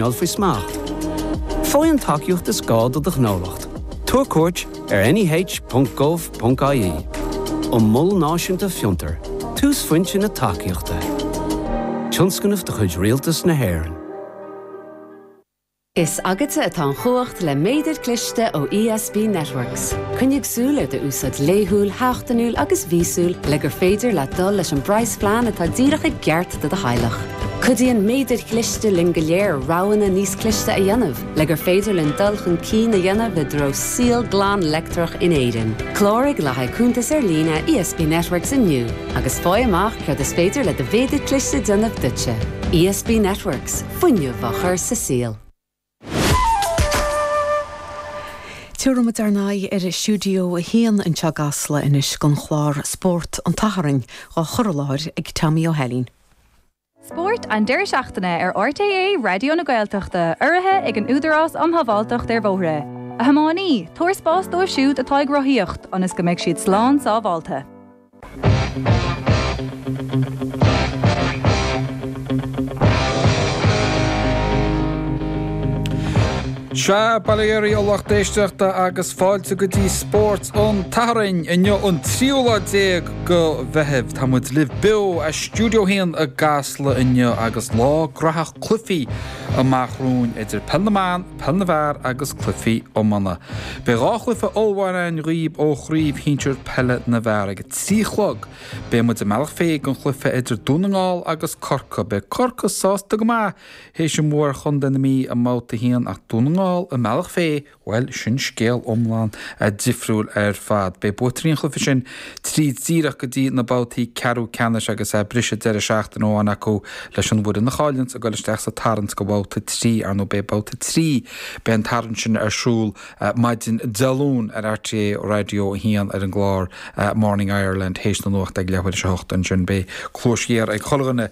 Faoi smacht. Faigh an tacaíocht is gá do do ghnólacht. Tabhair cuairt ar neh.gov.ie. An Mol Náisiúnta Fiontar, túsphointe na tacaíochta. Tionscnamh de chuid Rialtas na hÉireann. Is agatsa atá an chumhacht le méadar cliste ó ESB Networks. Coinnigh súil ar d'úsáid laethúil, sheachtainiúil agus mhíosúil le gur féidir leat dul leis an bpraghasphlean atá díreach i gceart do do theaghlach. Cuidíonn méadair chliste linn go léir roghanna níos cliste a dhéanamh le gur féidir linn dul chun cinn a dhéanamh i dtreo saol glan leictreach in Éirinn. Cláraigh le haghaidh cuntas ar líne ESB Networks inniu agus faigh amach céard is féidir le do mhéadar cliste déanamh duitse. ESB Networks, fuinneamh á chur sa saol. Tabharfaidh muid ár n-aghaidh ar Stiúideo 1 anseo i gCasla anois don chlár Spórt an tSathairn, á chur i láthair ag Tommy Ó hAilín. Spórt an deireadh seachtaine ar RTÉ Raidió na Gaeltachta, urraithe ag an Údarás um Shábháilteacht ar Bhóithre. A thiománaí, tabhair spás dóibh siúd atá ag rothaíocht, ionas go mbeidh siad slán sábháilte. Sea, bail ó Dhia oraibh a lucht éisteachta agus fáilte go dtí Spórt an tSathairn. Inniu an tríú lá déag go Mheitheamh. Tá muid libh beo as Stiúideo 1 i gCasla inniu agus lá graitheach cluichí amach romhainn idir Peil na mBan, Peil na bhFear agus cluichí iomána. Beidh 2 chluiche ollmhór againn dhaoib ó Chraobh Shinsir Peile na bhFear. Ag a 3 a chlog beidh muid i mBealach Féich don chluiche idir Dún na nGall agus Corcaigh. Beidh Corcaigh sásta go maith théis an bhua ar Chontae na Mí i mbabhta 1 ach Dún na nGall i mBealach Féich, bhuel, sin scéal iomlán difriúil ar fad. Beidh buaiteoirí an chluiche sin tríd díreach go dtí na babhtaí ceathrú ceannais agus briseadh deireadh seachtaine amháin acu leis an bhfoireann a chailleanns ag dul isteach sa tarraingt go babhta 3. Ar ndóigh beidh babhta 3, beidh an tarraingt sin ar siúl maidin Dé Luain ar RTÉ Raidió 1 ar an gclár Morning Ireland théis na nuachta ag leathuair théis a hocht ansin. Beidh cluais ghéar ag chuile dhuine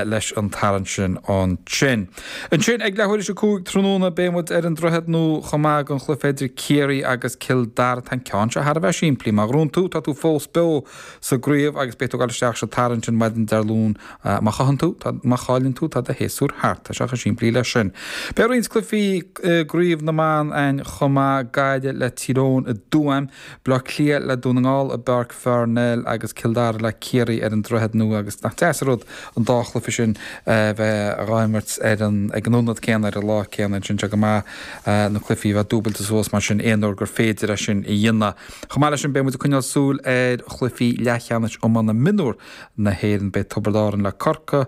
leis an tarraingt sin ansin. Ansin ag leathuair théis a 5 tráthnóna beidh muid ar an Droichead Nua chomh maith don chluiche idir Ciarraí agus Cill Dara. Tá an ceann seo thar a bheith simplí. Má ghnóthaíonn tú, tá tú fós beo sa gcraobh agus beidh tú ag dul isteach sa tarraingt sin maidin Dé Luain. Má chailleann tú, má chailleann tú, tá do shéasúr thart. Tá sé chomh simplí leis sin. Beidh roinnt cluichí i gCraobh na mBan againn chomh maith, Gaillimh le Tír Eoghain i dTuaim, Baile Átha Cliath le Dún na nGall i bPáirc Pharnell agus Cill Dara le Ciarraí ar an Droichead Nua agus nach deas an rud an dá chluiche sin a bheith dhá imirt ar an ag an ionad céanna ar an lá céanna ansin. Tá go maith na cluichí a bheith dúbailte suas mar sin aon uair gur féidir é sin a dhéanamh. Chomh maith leis sin beidh muid ag coinneáil súil ar chluichí leathcheannais iomána mionúr na hÉireann. Beidh Tiobraid Árann le Corcaigh,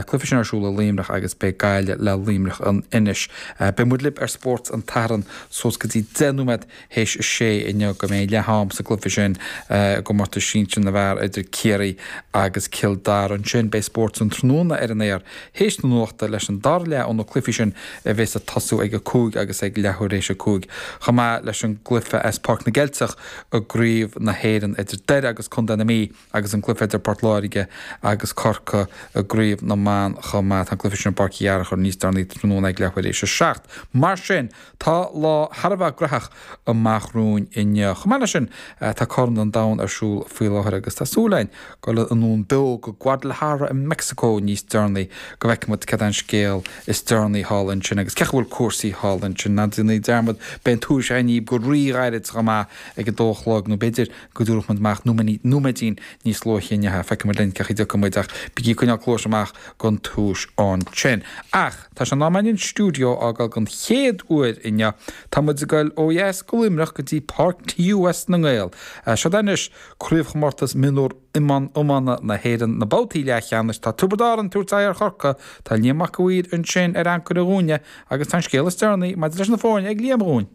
cluiche sin ar siúl i Luimneach agus beidh Gaillimh le Luimneach in Inis. Beidh muid libh ar Spórt an tSathairn suas go dtí 10 nóiméad théis a sé inniu go mbeidh leath am sa gcluiche sin i gcomórtas sinsir na bhfear idir Ciarraí agus Cill Dara. Ansin beidh Spórt an Tráthnóna ar an aer théis na nuachta leis an dara leath ó na cluichí sin a bheas ag tosú ag a 5 agus ag leathuair théis a 5 chomh maith leis an gcluiche as Páirc na gCeilteach i gCraobh na hÉireann idir Doire agus Contae na Mí agus an cluiche idir Port Láirge agus Corcaigh i gCraobh na mBan chomh maith. Tá an cluiche sin i bPáirc Uí Fhearchair níos deireanaí tráthnóna ag leathuair théis a 7. Mar sin, tá lá thar a bheith graitheach amach romhainn inniu. Chomh maith leis sin, tá Corn an Domhain ar siúl faoi láthair agus tá súil againn dul anonn beo go Guadalajara i Meicsiceo níos deireanaí go bhfeicfidh muid cad é an scéal is deireanaí thall ansin agus cén chaoi a bhfuil cúrsaí thall ansin. Ná déanaí dearmad, beidh an tuairisc againn daoibh go rí-ghairid chomh maith ag a dó a chlog nó b'fhéidir go dtabharfadh muid amach nóiméidín níos luaithe inniu. Feicfidh muid linn cén chaoi a dtiocfaidh muid ach bígí ag coinneáil cluais amach don tuairisc ansin. Ach tá sé in am againn an stiúideo a fhágáil don chéad uair inniu. Tá muid ag goil ó dheas go Luimneach go dtí Páirc TUS na nGael. Seod é anois Craobhchomórtas Mionúr Iomána na hÉireann, na babhtaí leathcheannais. Tá Tiobraid Árann ag tabhairt aghaidh ar Chorcaigh, tá Liam Mac a' Mhaoir ansin ar ancaire dhúinne agus tá an scéal is deireanaí maidir leis na foirne ag Liam dhúinn.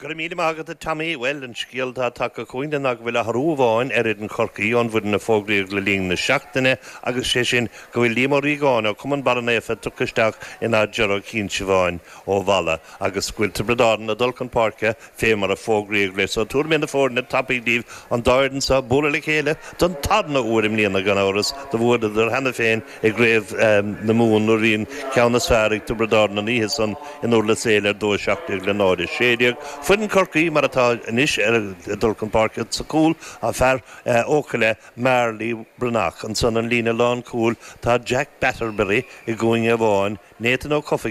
Go raibh míle maith agat, a Tommy. Bhuel, an scéal atá tagtha chugainn ná go bhfuil athrú amháin ar fhoireann Chorcaí ón bhfoireann a fógraíodh le linn na seachtaine agus sé sin go bhfuil Liam Ó Riagáin ó Chumann Barra Naofa tugtha isteach in áit Ger Ó Cinnseabháin ó Mhalla agus go bhfuil Tiobraid Árann ag dul chun páirce fé mar a fógraíodh leis. So tabharfaidh mé na foirne tapaidh daoibh, an dá fhoireann seo ag bualadh le chéile don tarna uair i mbliana gan amhras. Do bhuaileadar cheana féin i gCraobh na Mumhan nuair a bhí an ceann is fearr ag Tiobraid Árann an oíche san in Durlas Éile ar 2-17 le 0-16. Foireann Chorcaí mar atá anois ag dul chun páirce sa chúl, tá fear Eochaille, Marley Breathnach. Ansan an líne lánchúil tá Jack Batterberry i gcúinne amháin, Nathan Ó Cofaigh.